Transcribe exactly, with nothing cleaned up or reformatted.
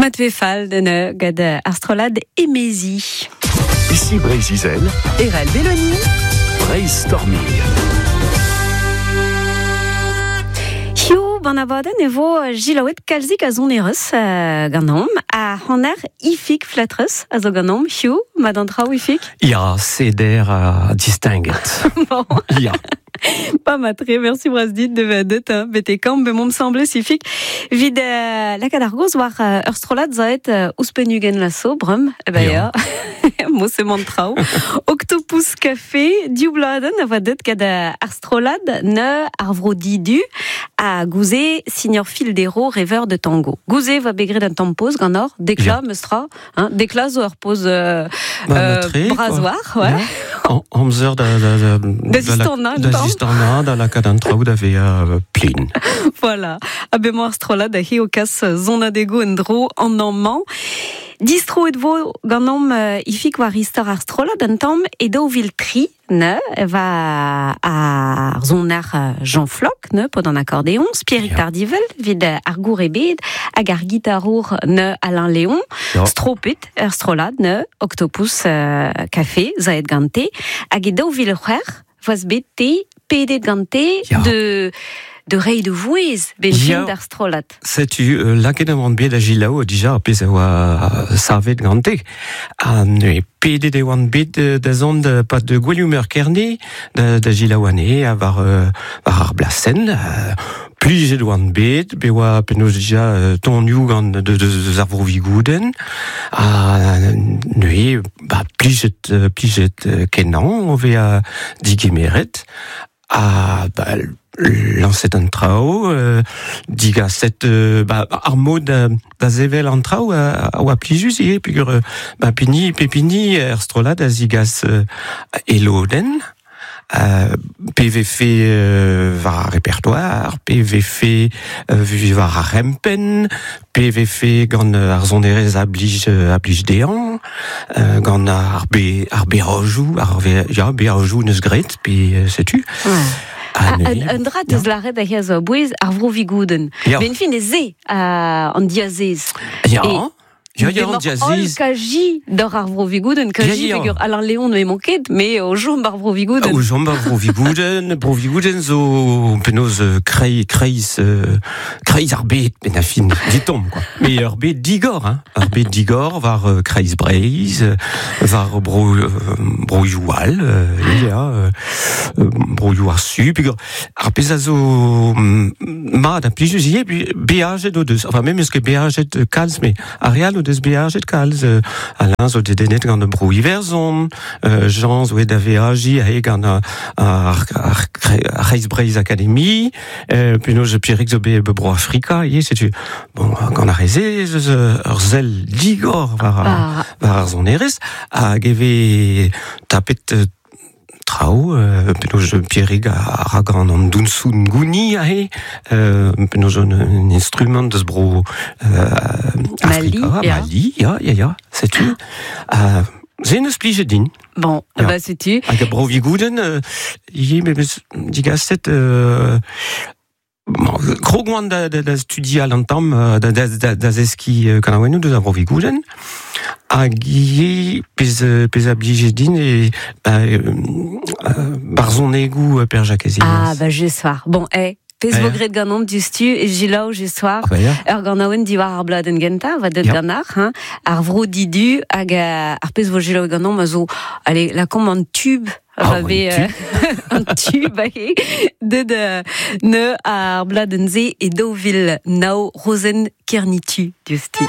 Matve fall den gad ar strollad emezi. Ici Breizh-Izel. Erel Belloni. Breizh-Storming. Hiu ban abadenn e vo gilaouet kalzik a zonerez euh, ganeomp, a hanner ifik flatrez a zo ganeomp. Hiu, ma d'an traoù ifik? Ya, seder a distinguet. Bon. Ya. Pas matre, merci bras dit de vedet, hein, bete kamp be mom semble sifik. Vid euh, lakaat ar goz war euh, ur strollad zaet euh, ouzhpenn la so, brum, e ben ya. Mo se mont traoù. Octopus Café, div bladenn a voa deut gant ar strollad ne ar vro didu a gouze signor Fildero, rêveur de tango. Gouze va begret un tamm poz gant or, dekla, meustra, hein, dekla zo ur poz euh, Ba, euh, matre, quoi. brasoir, ouais. Ja. An- Amzer da... Da, da, Da zistorna, un Da tamm. zistorna, da lakaat an traoù da vea plin. Voilà. A be mo ar strollad a hi o kas zonadego en dro an amañ. Distro et vo ganeomp euh, ifik war istor ar strollad an tamm e daou vil tri, ne, va ar zoner Jean Floch, ne, pod an accordéon, Pierrick Ja. Tardivel, vid ar gour ebet, hag ar gitarour ne Alain Léon, Ja. stropet ar strollad ne, Octopus euh, Café, zaet gante, hag e daou vil c'hwec'h, voaz bet te, pedet gante, Ja. de de rei de vouez ben Ja. fin d'ar strollad. Setu, euh, lakaet an bet a gilaou dija ar pezh a oa savet gante. Ha ne pedet e oan bet euh, da zont euh, pat de gwelioù kerne da, da gilaou ane a war, euh, war ar blasen. Euh, plijet oan bet, be oa penaos dija euh, tonioù gant de, de, de ar vro vigouden. Ha ne, ba, plijet, euh, plijet euh, kenan, o vea digemeret. Ha, ba, lañset an traoù, euh, digaset euh, ba, ar mod da, da zevel an traoù a, a oa plijus ivez, peogwir euh, ba, pini, pepini er strollad a zigas euh, elodenn, euh, P V F euh, war ar répertoire, P V F euh, war ar rempen, P V F gant ar zonerez a blij, a blij dean, euh, gant ar be, ar berojou, ar ve, ya, berojou neus gret, pe euh, setu. Ouais. Ah, Ah, ne, un, un dra deus laret a hiaz a bouez ar vro vigouden. Ya. Ben fin e ze euh, an diazez. Ya. Et Ya, ya, an diazez. Kaji d'or ar vro vigouden, kaji Ya, ya. peogwir Alain Léon ne manket, mais o jom ar vro vigouden. O jom ar vro vigouden, bro vigouden zo penaos euh, kreiz, kreiz, euh, kreiz ar bet, ben a fin, ditomp, quoi. Mais ar bet digor, hein. Ar bet digor war euh, kreiz Breizh, euh, war bro, euh, bro youal, euh, ya, euh, bro you ar su, peogwir ar pezh a zo mat a plijus ivez, puis beajet o deus, enfin même eus ket beajet kalz, mais ar real o deus beajet kalz, euh, Alain zo dedennet gant bro Iwerzhon, euh, Jean zo et da veaji ae gant ar, ar, ar, ar Kreiz Breizh Academy, euh, penaos Pierrick zo bet bro Afrika, ivez, setu, bon, gant ar reze, eus ur sell digor war, Ah. war ar zonerez, hag e vez tapet euh, traoù, euh, penaos Pierrick a, a ra gant an dounsoun gouni ae, euh, penaos un, un instrument deus bro, euh, Mali, Afrika, ya. Mali, ya, ya, ya, setu. Euh, se neus plijet din. Bon, Ya. bah setu. Hag a bro vigouden, euh, ivez, me meus digaset, euh, bon, krog oan da, da, da studial an tamm, euh, da, da, da, da zeski euh, kanaouennoù deus ar bro vigouden. Hag ivez, pezh, pezh a blije din e, ba, euh, euh, barzhonegoù Per Jakez Ah, Helias. bah just war. Bon, eh, pezh Eh. vo gret ganeomp diouzhtu e gilaou just war. Ah, bah, ya. Ur ganaouenn diwar ar bladenn gentañ, va deut Ya. ganar, hein, ar vro didu hag euh, ar pezh vo gilaou ganeomp a zo, allez, lakaomp an tube, Ah, va un be, euh, an tube, ahe, deut euh, ne ar bladenn-se e daou vil nav Rozenn Kernitu diouzhtu.